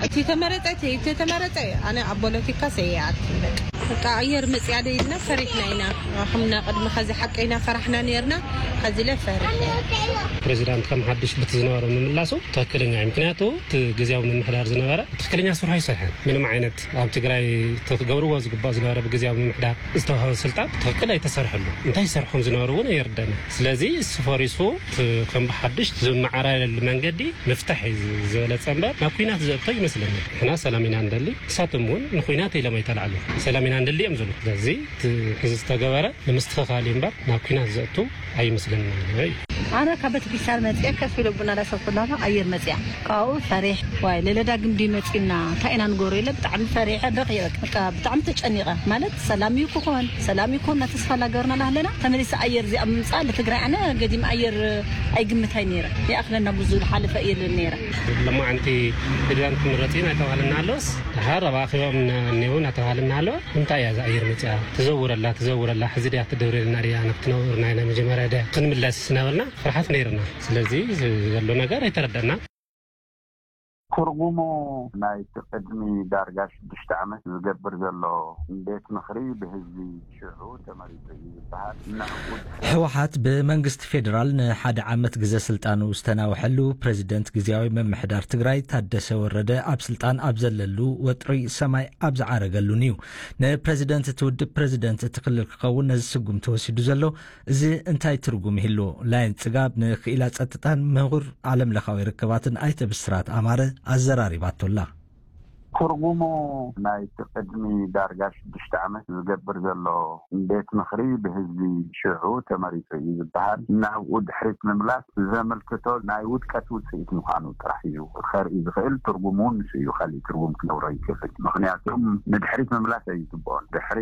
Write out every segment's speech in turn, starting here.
እቲ ተመረጸ እቲ ተመረጸ ኣነ ኣብ ፖለቲካ ሰይኣት በቃ ኣየር መጽያ ደይልና ፈሪሕና ኢና። ከምና ቅድሚ ከዚ ሓቀይና ፈራሕና ነርና። ከዚ ለ ፈሪሕ። ፕሬዚዳንት ከም ሓድሽ ብቲ ዝነበረ ምምላሱ ትክክለኛ እዩ። ምክንያቱ እቲ ግዜያዊ ምምሕዳር ዝነበረ ትክክለኛ ስርሑ ኣይሰርሐን። ምንም ዓይነት ኣብ ትግራይ ተገብርዎ ዝግባእ ዝነበረ ብግዜያዊ ምምሕዳር ዝተዋሃበ ስልጣን ትክክል ኣይተሰርሐሉ። እንታይ ይሰርሑ ከም ዝነበሩ እውን ኣይርደና። ስለዚ እሱ ፈሪሱ እቲ ከም ብሓድሽ ዝመዓራረሉ መንገዲ ምፍታሕ እዩ ዝበለፀ እምበር ናብ ኩናት ዘእቶ ይመስለኒ። ንሕና ሰላም ኢና ንደሊ፣ ንሳቶም እውን ንኩናት ኢሎም ኣይተላዕሉ። ሰላም ኢና ንደሊ እዮም ዝብሉ። ስለዚ እቲ ሕዚ ዝተገበረ ንምስትኽኻል እዩ እምበር ናብ ኩናት ዘእቱ ኣይመስለኒ እዩ። ኣነ ካብ ቤተክርስትያን መፅአ ከፍ ኢለ ቡና ዳሰብኩላ ኣየር መፅያ ካብኡ ፈሪሕ ዋይ ለለዳ ግምዲ መፂና እንታይ ኢና ንገብሮ ኢለ ብጣዕሚ ፈሪሐ በኽየ በቃ ብጣዕሚ ተጨኒቐ ማለት ሰላም እዩ ክኾን ሰላም እዩ ክኾን እናተስፋ ላገርና ላህለና ተመሊሰ ኣየር እዚኣ ምምፃእ ለትግራይ ኣነ ገዲም ኣየር ኣይግምታይ ነይረ ይኣኽለና ብዙ ዝሓለፈ እየ ልብል ነይረ። ለማዓንቲ ፕሬዚዳንት ክምረፅ እዩ እናተባህለና ኣሎስ ድሓር ኣብ ኣኼባኦም እኒአው እናተባህለና ኣሎ። እንታይ እያ እዛ ኣየር መፅያ ትዘውረላ ትዘውረላ ሕዚ ድያ ትደውረልና ድያ ናብቲ ነውርና ናይ መጀመርያ ድያ ክንምለስ እናበልና ፍርሓት ነይርና። ስለዚ ዘሎ ነገር ኣይተረደና። ትርጉሙ ናይቲ ቅድሚ ዳርጋ ሽዱሽተ ዓመት ዝገብር ዘሎ ቤት ምኽሪ ብህዝቢ ሽዑ ተመሪጹ እዩ ዝበሃል። ንዕኡ ድሕሪ ህወሓት ብመንግስቲ ፌዴራል ንሓደ ዓመት ግዘ ስልጣኑ ዝተናውሐሉ ፕሬዚደንት ግዜያዊ ምምሕዳር ትግራይ ታደሰ ወረደ ኣብ ስልጣን ኣብ ዘለሉ ወጥሪ ሰማይ ኣብ ዝዓረገሉን እዩ። ንፕሬዚደንት እቲ ውድብ ፕሬዚደንት እቲ ክልል ክኸውን ነዚ ስጉም ተወሲዱ ዘሎ እዚ እንታይ ትርጉም ይህሉ? ላይን ፅጋብ ንክኢላ ፀጥታን ምሁር ዓለም ለኻዊ ርክባትን ኣይተ ብስራት ኣማረ ኣዘራሪባቶላ። ትርጉሙ ናይቲ ቅድሚ ዳርጋ ሽዱሽተ ዓመት ዝገብር ዘሎ ቤት ምኽሪ ብህዝቢ ሽዑ ተመሪጹ እዩ ዝበሃል። ናብኡ ድሕሪት ምምላስ ዘመልክቶ ናይ ውድቀት ውፅኢት ምዃኑ ጥራሕ እዩ ከርኢ ዝኽእል። ትርጉሙ እውን ንሱ እዩ። ካሊእ ትርጉም ክነብሮ ይክእል። ምኽንያቱም ንድሕሪት ምምላስ ኣይግብኦን። ድሕሪ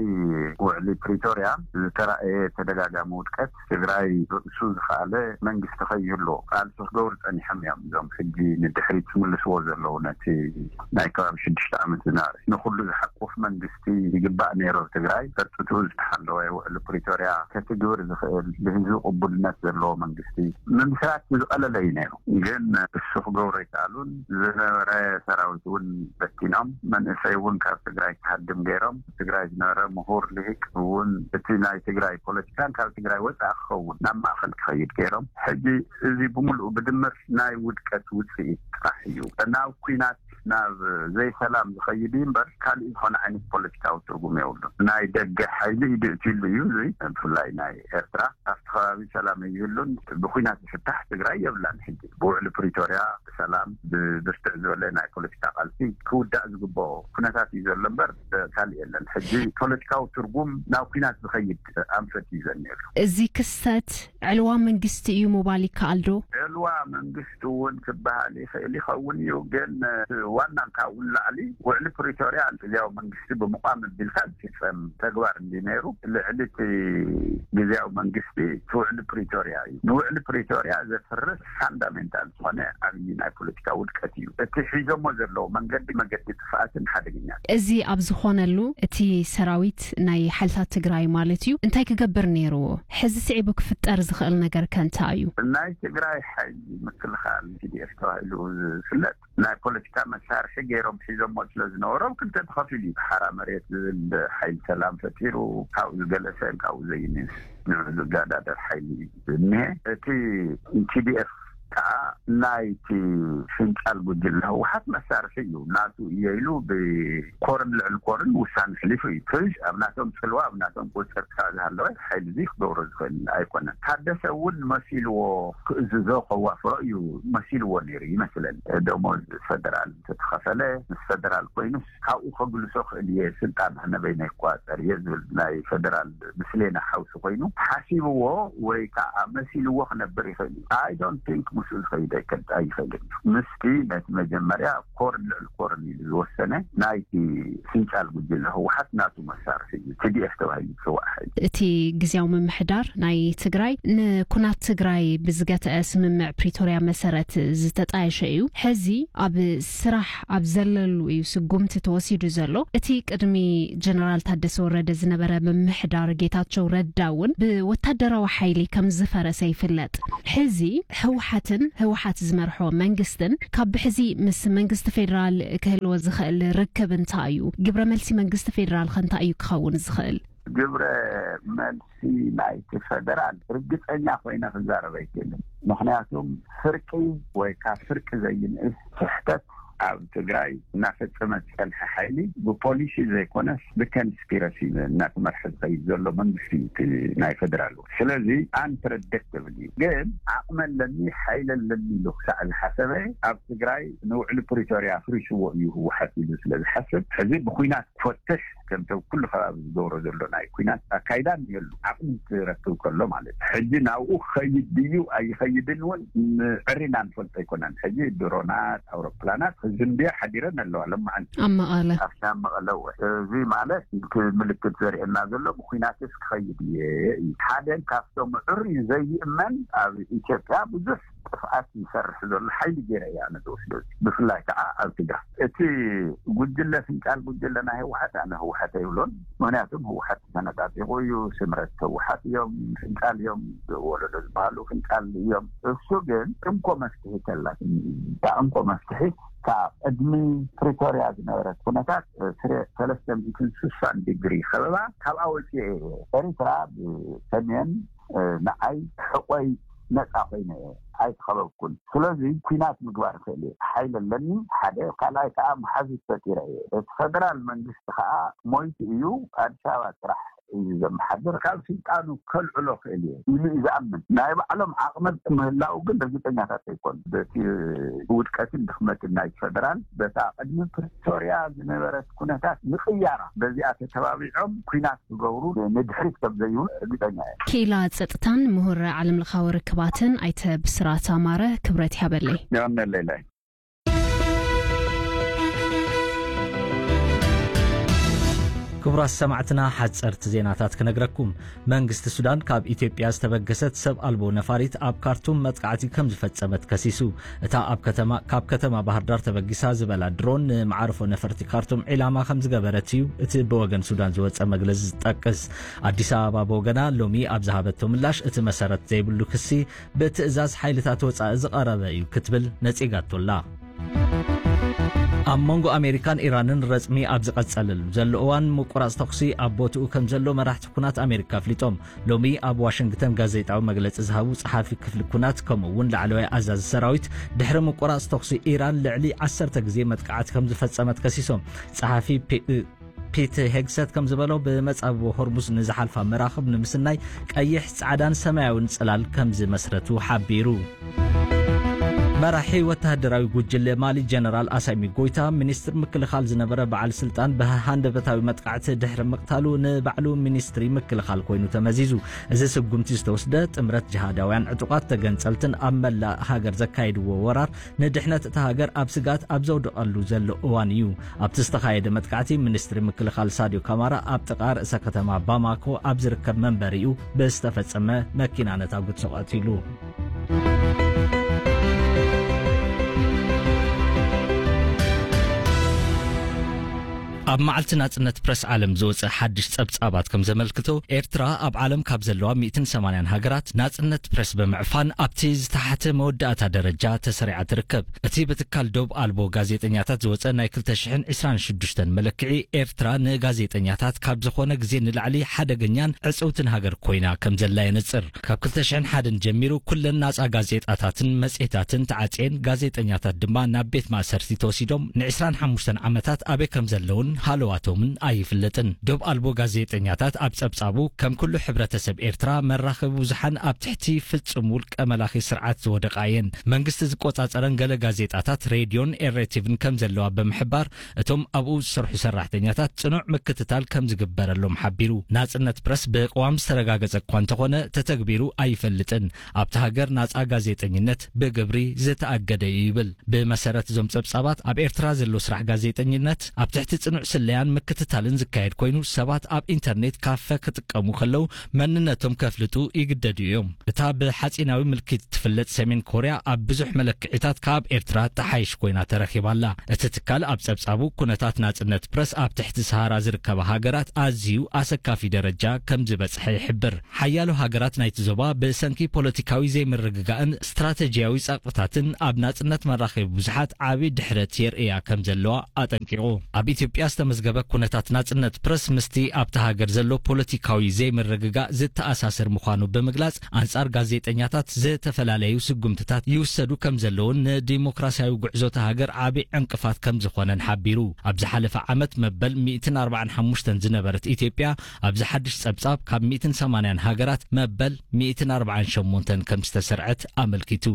ውዕሊ ፕሪቶርያ ዝተራእየ ተደጋጋሚ ውድቀት ትግራይ ርእሱ ዝኸኣለ መንግስቲ ከይህልዎ ቃልሲ ክገብሩ ጸኒሖም እዮም። እዞም ሕጂ ንድሕሪት ዝምልስዎ ዘለዉ ነቲ ናይ ከባቢ ሽዱሽተ ዓመት ዝነበረ ንኹሉ ዝሓቁፍ መንግስቲ ይግባእ ነይሩ። ትግራይ ጸጥትኡ ዝተሓለወ ውዕሊ ፕሪቶርያ ከትግብር ዝኽእል ብህዝቢ ቅቡልነት ዘለዎ መንግስቲ ምምስራት ዝቐለለ እዩ ነይሩ። ግን እሱ ክገብሮ ኣይከኣሉን። ዝነበረ ሰራዊት እውን በቲኖም መንእሰይ እውን ካብ ትግራይ ክሃድም ገይሮም ትግራይ ዝነበረ ምሁር ልሂቅ እውን እቲ ናይ ትግራይ ፖለቲካን ካብ ትግራይ ወፃኢ ክኸውን ናብ ማእኸል ክኸይድ ገይሮም። ሕጂ እዚ ብምሉኡ ብድምር ናይ ውድቀት ውፅኢት ጥራሕ እዩ። ናብ ኩናት ናብ ዘይሰላም ዝኸይድ እዩ እምበር ካሊእ ዝኾነ ዓይነት ፖለቲካዊ ትርጉም የብሉን። ናይ ደገ ሓይሊ ኢዱ እትሉ እዩ እዚ ብፍላይ ናይ ኤርትራ ኣብቲ ከባቢ ሰላም ይህሉን ብኩናት ዝፍታሕ ትግራይ የብላን። ሕጂ ብውዕሊ ፕሪቶርያ ብሰላም ብብርትዕ ዝበለ ናይ ፖለቲካ ቃልሲ ክውዳእ ዝግብኦ ኩነታት እዩ ዘሎ እምበር ካልእ የለን። ሕጂ ፖለቲካዊ ትርጉም ናብ ኩናት ዝኸይድ ኣንፈት እዩ ዘኒኤሉ። እዚ ክስተት ዕልዋ መንግስቲ እዩ ምባል ይከኣል ዶ? ዕልዋ መንግስቲ እውን ክበሃል ይኽእል ይኸውን እዩ። ግን ዋና ካብኡ ንላዕሊ ውዕሊ ፕሪቶርያ ግዝያዊ መንግስቲ ብምቋም ኣቢልካ ዝፍፀም ተግባር እንዲ ነይሩ ልዕሊ እቲ ግዝያዊ መንግስቲ እቲ ውዕሊ ፕሪቶርያ እዩ። ንውዕሊ ፕሪቶርያ ዘፍርስ ፋንዳሜንታል ዝኾነ ዓብዪ ናይ ፖለቲካ ውድቀት እዩ። እቲ ሒዞሞ ዘለዉ መንገዲ መገዲ ጥፍኣትን ሓደገኛ። እዚ ኣብ ዝኾነሉ እቲ ሰራዊት ናይ ሓይልታት ትግራይ ማለት እዩ እንታይ ክገብር ነይርዎ? ሕዚ ስዒቡ ክፍጠር ዝኽእል ነገር ከ እንታይ እዩ? ናይ ትግራይ ሓይሊ ምክልኻል ቲ ዲ ኤፍ ተባሂሉ ዝፍለጥ ናይ ፖለቲካ መሳርሒ ገይሮም ሒዞሞ ስለ ዝነበሮም ክልተ ተኸፊሉ እዩ። ሓራ መሬት ዝብል ሓይሊ ሰላም ፈጢሩ ካብኡ ዝገለሰን ካብኡ ዘይንስ ንዑ ዝጋዳደር ሓይሊ እዩ እኒሀ። እቲ ቲ ዲ ኤፍ ከዓ ናይቲ ፍንጫል ጉጅለ ህወሓት መሳርሒ እዩ። ናቱ እየ ኢሉ ብኮርን ልዕሊ ኮርን ውሳነ ኣሕሊፉ እዩ። ሕዚ ኣብ ናቶም ፅልዋ ኣብ ናቶም ቁፅፅር ክሳዕ ዝሃለወ ሓይሊ እዚ ክገብሮ ዝኽእል ኣይኮነን። ታደሰ እውን መሲልዎ ክእዝዞ ከዋፍሮ እዩ መሲልዎ ነይሩ ይመስለኒ። ደሞዝ ፈደራል እንተተኸፈለ ምስ ፈደራል ኮይኑስ ካብኡ ከግልሶ ክእል እየ ስልጣን ኣነ በይነይ ክቆፃፀር እየ ዝብል ናይ ፈደራል ምስሌነ ሓውሲ ኮይኑ ሓሲብዎ ወይ ከዓ መሲልዎ ክነብር ይኽእል እዩ። I don't think ምስኡ ዝኸይድ ኣይከ- ኣይኽእልን እዩ። ምስቲ ነቲ መጀመርያ ኮርን ልዕሊ ኮርን ኢሉ ዝወሰነ ናይቲ ፍንጫል ጉጅለ ህወሓት ናቱ መሳርሒ እዩ። ቲ ዲ ኤፍ ተባሂሉ ዝፅዋዕ ሓይሊ። እቲ ግዝያዊ ምምሕዳር ናይ ትግራይ ንኩናት ትግራይ ብዝገትአ ስምምዕ ፕሪቶርያ መሰረት ዝተጣየሸ እዩ። ሕዚ ኣብ ስራሕ ኣብ ዘለሉ እዩ ስጉምቲ ተወሲዱ ዘሎ። እቲ ቅድሚ ጀነራል ታደሰ ወረደ ዝነበረ ምምሕዳር ጌታቸው ረዳ እውን ብወታደራዊ ሓይሊ ከም ዝፈረሰ ይፍለጥ። ሕዚ ህወሓትን ህወሓት ዝመርሖ መንግስትን ካብ ብሕዚ ምስ መንግስቲ ፌዴራል ክህልዎ ዝኽእል ርክብ እንታይ እዩ? ግብረ መልሲ መንግስቲ ፌዴራል ከ እንታይ እዩ ክኸውን ዝኽእል? ግብረ መልሲ ናይቲ ፌደራል ርግጸኛ ኮይነ ክዛረብ ኣይክእልን። ምኽንያቱም ፍርቂ ወይ ካብ ፍርቂ ዘይንእስ ስሕተት ኣብ ትግራይ እናፈጸመ ዝጸንሐ ሓይሊ ብፖሊሲ ዘይኮነስ ብኮንስፒረሲ እናተመርሐ ዝኸይድ ዘሎ መንግስቲ እዩ እቲ ናይ ፌደራል። ስለዚ ኣንፕረዲክተብል እዩ። ግን ዓቕሚ ኣለኒ፣ ሓይሊ ኣለኒ ኢሉ ክሳዕ ዝሓሰበ ኣብ ትግራይ ንውዕሊ ፕሪቶርያ ኣፍሪስዎ እዩ ህወሓት ኢሉ ስለ ዝሓስብ ሕዚ ብኲናት ክፈትሽ ከምቲ ኣብ ኩሉ ከባቢ ዝገብሮ ዘሎ ናይ ኲናት ኣካይዳ እኒሀሉ ዓቕሚ እንትረክብ ከሎ ማለት እዩ። ሕጂ ናብኡ ክኸይድ ድዩ ኣይኸይድን እውን ምዕሪና ንፈልጦ ኣይኮነን። ሕጂ ድሮናት፣ ኣውሮፕላናት ክዝንብያ ሓዲረን ኣለዋ ሎማዓንቲ ኣብ መቐለ። ኣብታ መቐለ እወ። እዚ ማለት እቲ ምልክት ዘርእየና ዘሎ ብኲናትስ ክኸይድ እየ እዩ። ሓደ ካብቶም ዕሩይ ዘይእመን ኣብ ኢትዮጵያ ብዙሕ ጥፍኣት ይሰርሕ ዘሎ ሓይሊ ገይረ እየ ኣነ ዝወስዶ። ብፍላይ ከዓ ኣብ ትግራይ እቲ ጉጅለ ፍንጫል ጉጅለ ናይ ህወሓት ኣነ ህወሓት ኣይብሎን። ምኽንያቱም ህወሓት ተነጣጢቑ እዩ። ስምረት ህወሓት እዮም፣ ፍንጫል እዮም፣ ወለዶ ዝበሃሉ ፍንጫል እዮም። እሱ ግን እንኮ መፍትሒ ከላ እንኮ መፍትሒ ካብ ቅድሚ ፕሪቶርያ ዝነበረት ኩነታት ሰለስተ ሚእትን ስሳን ዲግሪ ከበባ ካብኣ ወፂኤ እየ። ኤሪትራ ብሰሜን ንዓይ ሕቆይ ነፃ ኮይነ እየ፣ ኣይተኸበብኩን። ስለዚ ኩናት ምግባር እኽእል እየ፣ ሓይሊ ኣለኒ። ሓደ ካልኣይ ከዓ መሓዙት ፈጢረ እየ። እቲ ፈደራል መንግስቲ ከዓ ሞይቱ እዩ፣ ኣዲስ ኣበባ ጥራሕ እዩ ዘመሓድር፣ ካብ ስልጣኑ ከልዕሎ ክእል እየ ኢሉ እዩ ዝኣምን። ናይ ባዕሎም ዓቕሚ ምህላው ግን ርግፀኛታት ኣይኮኑ። በቲ ውድቀትን ድኽመትን ናይ ፈደራል በታ ቅድሚ ፕሪቶርያ ዝነበረት ኩነታት ምቕያራ በዚኣ ተተባቢዖም ኩናት ክገብሩ ንድሕሪት ከም ዘይብሉ ርግፀኛ እየ። ክኢላ ጸጥታን ምሁር ዓለምለኻዊ ርክባትን ኣይተ ብስራት ኣማረ ክብረት ይሃበለይ። የቐነለይ። ክቡራት ሰማዕትና፣ ሓጸርቲ ዜናታት ክነግረኩም። መንግስቲ ሱዳን ካብ ኢትዮጵያ ዝተበገሰት ሰብ ኣልቦ ነፋሪት ኣብ ካርቱም መጥቃዕቲ ከም ዝፈጸመት ከሲሱ። እታ ኣብ ከተማ፣ ካብ ከተማ ባህር ዳር ተበጊሳ ዝበላ ድሮን ንመዓርፎ ነፈርቲ ካርቱም ዒላማ ከም ዝገበረት እዩ እቲ ብወገን ሱዳን ዝወጸ መግለጺ ዝጠቅስ። ኣዲስ ኣበባ ብወገና ሎሚ ኣብ ዝሃበቶ ምላሽ፣ እቲ መሰረት ዘይብሉ ክሲ ብትእዛዝ ሓይልታት ወጻኢ ዝቐረበ እዩ ክትብል ነጺጋቶላ። ኣብ መንጎ ኣሜሪካን ኢራንን ረጽሚ ኣብ ዝቐጸለሉ ዘሎ እዋን፣ ምቁራጽ ተኹሲ ኣብ ቦትኡ ከም ዘሎ መራሕቲ ኩናት ኣሜሪካ ኣፍሊጦም። ሎሚ ኣብ ዋሽንግተን ጋዜጣዊ መግለጺ ዝሃቡ ጸሓፊ ክፍሊ ኩናት፣ ከምኡ እውን ላዕለዋይ ኣዛዚ ሰራዊት፣ ድሕሪ ምቁራጽ ተኹሲ ኢራን ልዕሊ ዓሰርተ ግዜ መጥቃዕቲ ከም ዝፈጸመት ከሲሶም። ጸሓፊ ፔ-፣ ፒት ሄግሰት ከም ዝበሎ፣ ብመጻብቦ ሆርሙዝ ንዝሓልፋ መራኽብ ንምስናይ ቀይሕ፣ ጻዕዳን ሰማያውን ጽላል ከም ዝመስረቱ ሓቢሩ። መራሒ ወተሃደራዊ ጉጅለ ማሊ ጀነራል ኣሳሚ ጎይታ፣ ሚኒስትር ምክልኻል ዝነበረ በዓል ስልጣን ብሃንደበታዊ መጥቃዕቲ ድሕሪ ምቕታሉ፣ ንባዕሉ ሚኒስትሪ ምክልኻል ኮይኑ ተመዚዙ። እዚ ስጉምቲ ዝተወስደ፣ ጥምረት ጅሃዳውያን ዕጡቓት ተገንጸልትን ኣብ መላእ ሃገር ዘካየድዎ ወራር ንድሕነት እታ ሃገር ኣብ ስግኣት ኣብ ዘውደቐሉ ዘሎ እዋን እዩ። ኣብቲ ዝተኻየደ መጥቃዕቲ፣ ሚኒስትሪ ምክልኻል ሳድዮ ካማራ ኣብ ጥቓ ርእሰ ከተማ ባማኮ ኣብ ዝርከብ መንበሪኡ ብዝተፈጸመ መኪና ነታጒ ተቐቲሉ። ኣብ መዓልቲ ናጽነት ፕረስ ዓለም ዝወጸ ሓድሽ ጸብጻባት ከም ዘመልክቶ፣ ኤርትራ ኣብ ዓለም ካብ ዘለዋ ሚእትን ሰማንያን ሃገራት ናጽነት ፕረስ ብምዕፋን ኣብቲ ዝተሓተ መወዳእታ ደረጃ ተሰሪዓ ትርከብ። እቲ ብትካል ዶብ ኣልቦ ጋዜጠኛታት ዝወጸ ናይ ክልተ ሽሕን ዕስራን ሽዱሽተን መለክዒ፣ ኤርትራ ንጋዜጠኛታት ካብ ዝኾነ ግዜ ንላዕሊ ሓደገኛን ዕጽውትን ሃገር ኮይና ከም ዘላ የነጽር። ካብ ክልተ ሽሕን ሓደን ጀሚሩ ኩለን ናጻ ጋዜጣታትን መጽሔታትን ተዓጽየን፣ ጋዜጠኛታት ድማ ናብ ቤት ማእሰርቲ ተወሲዶም ንዕስራን ሓሙሽተን ዓመታት ኣበይ ከም ዘለውን ሃለዋቶምን ኣይፍለጥን። ዶብ ኣልቦ ጋዜጠኛታት ኣብ ጸብጻቡ፣ ከም ኩሉ ሕብረተሰብ ኤርትራ፣ መራኸቢ ብዙሓን ኣብ ትሕቲ ፍጹም ውልቀ መላኺ ስርዓት ዝወደቓ እየን። መንግስቲ ዝቆጻጸረን ገለ ጋዜጣታት፣ ሬድዮን ኤሬቲቪን ከም ዘለዋ ብምሕባር፣ እቶም ኣብኡ ዝሰርሑ ሰራሕተኛታት ጽኑዕ ምክትታል ከም ዝግበረሎም ሓቢሩ። ናጽነት ፕረስ ብቅዋም ዝተረጋገጸ እኳ እንተኾነ፣ ተተግቢሩ ኣይፈልጥን። ኣብቲ ሃገር ናጻ ጋዜጠኝነት ብግብሪ ዝተኣገደ እዩ ይብል። ብመሰረት እዞም ጸብጻባት፣ ኣብ ኤርትራ ዘሎ ስራሕ ጋዜጠኝነት ኣብ ትሕቲ ጽኑዕ ስለያን ምክትታልን ዝካየድ ኮይኑ፣ ሰባት ኣብ ኢንተርኔት ካፈ ክጥቀሙ ከለዉ መንነቶም ከፍልጡ ይግደዱ እዮም። እታ ብሓጺናዊ ምልክት ትፍለጥ ሰሜን ኮርያ ኣብ ብዙሕ መለክዒታት ካብ ኤርትራ ተሓይሽ ኮይና ተረኺባ ኣላ። እቲ ትካል ኣብ ጸብጻቡ፣ ኩነታት ናጽነት ፕረስ ኣብ ትሕቲ ሰሃራ ዝርከባ ሃገራት ኣዝዩ ኣሰካፊ ደረጃ ከም ዝበጽሐ ይሕብር። ሓያሎ ሃገራት ናይቲ ዞባ ብሰንኪ ፖለቲካዊ ዘይምርግጋእን ስትራተጂያዊ ጸቕጥታትን ኣብ ናጽነት መራኸቢ ብዙሓት ዓቢ ድሕረት የርእያ ከም ዘለዋ ኣጠንቂቑ። ኣብ ኢትዮጵያ ዝተመዝገበ ኩነታት ናጽነት ፕረስ ምስቲ ኣብታ ሃገር ዘሎ ፖለቲካዊ ዘይምርግጋእ ዝተኣሳሰር ምዃኑ ብምግላጽ፣ ኣንጻር ጋዜጠኛታት ዝተፈላለዩ ስጉምትታት ይውሰዱ ከም ዘለውን ንዲሞክራሲያዊ ጉዕዞ እታ ሃገር ዓቢ ዕንቅፋት ከም ዝኾነን ሓቢሩ። ኣብ ዝሓለፈ ዓመት መበል ሚእትን ኣርባዓን ሓሙሽተን ዝነበረት ኢትዮጵያ፣ ኣብዚ ሓድሽ ጸብጻብ ካብ ሚእትን ሰማንያን ሃገራት መበል ሚእትን ኣርባዓን ሸሞንተን ከም ዝተሰርዐት ኣመልኪቱ።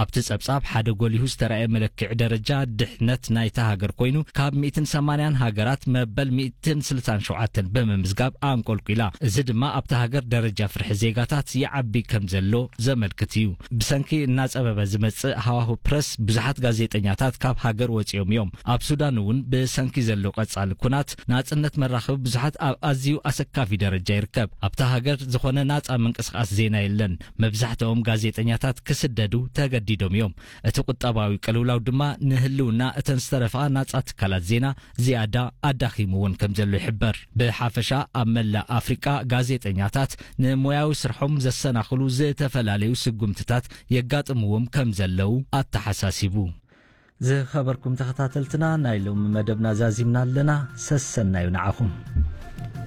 ኣብቲ ጸብጻብ ሓደ ጎሊሁ ዝተራእየ መለክዒ ደረጃ ድሕነት ናይታ ሃገር ኮይኑ፣ ካብ ሚእትን ሰማንያን ሃገራት መበል ሚእትን ስልሳን ሸውዓተን ብምምዝጋብ ኣንቆልቂላ። እዚ ድማ ኣብታ ሃገር ደረጃ ፍርሒ ዜጋታት ይዓቢ ከም ዘሎ ዘመልክት እዩ። ብሰንኪ እናጸበበ ዝመጽእ ሃዋሁ ፕረስ፣ ብዙሓት ጋዜጠኛታት ካብ ሃገር ወጺኦም እዮም። ኣብ ሱዳን እውን ብሰንኪ ዘሎ ቀጻሊ ኩናት፣ ናጽነት መራኸቢ ብዙሓት ኣብ ኣዝዩ ኣሰካፊ ደረጃ ይርከብ። ኣብታ ሃገር ዝኾነ ናጻ ምንቅስቓስ ዜና የለን። መብዛሕትኦም ጋዜጠኛታት ክስደዱ ተገዲዶም እዮም። እቲ ቁጠባዊ ቅልውላው ድማ ንህልውና እተን ዝተረፋ ናጻ ትካላት ዜና ዝያዳ ኣዳኺምዎን ከም ዘሎ ይሕበር። ብሓፈሻ ኣብ መላእ ኣፍሪቃ ጋዜጠኛታት ንሞያዊ ስርሖም ዘሰናኽሉ ዝተፈላለዩ ስጉምትታት የጋጥምዎም ከም ዘለዉ ኣተሓሳሲቡ። ዝኸበርኩም ተኸታተልትና፣ ናይ ሎሚ መደብና ዛዚምና ኣለና። ሰሰናዩ ንዓኹም።